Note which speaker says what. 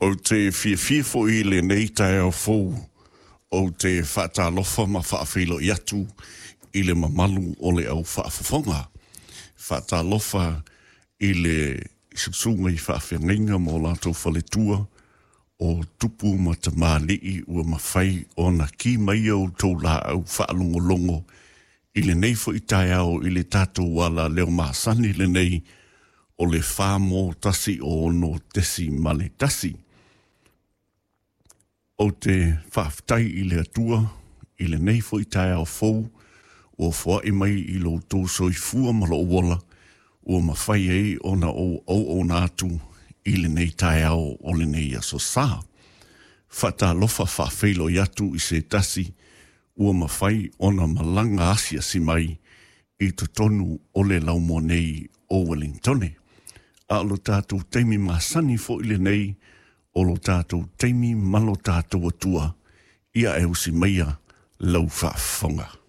Speaker 1: Ou te fiafia foi i lenei taeao fou, ou te faatalofa ma faafeiloai atu i le mamalu o le au faafofoga. Faatalofa i le susuga i faafeagaiga ma o latou faletua o tupu ma tamalii ua mafai ona ki mai a outou laau faalogologo i lenei foi taeao i le tatou ala leo masani lenei o le 4 1 6.1. Ou te faafetai i le Atua i lenei foi taeao fou ua foai mai i lo outou soifua ma lou ola ua mafai ai ona ou auauna atu i lenei taeao o lenei aso Sa. Faatalofa faafeiloai atu i se tasi ua mafai ona malaga asiasi mai i totonu o le laumua nei o Wellingtone. A o lo tatou taimi masani foi lenei o lo tatou taimi ma lo tatou Atua, ia e usi maia lau faafofoga.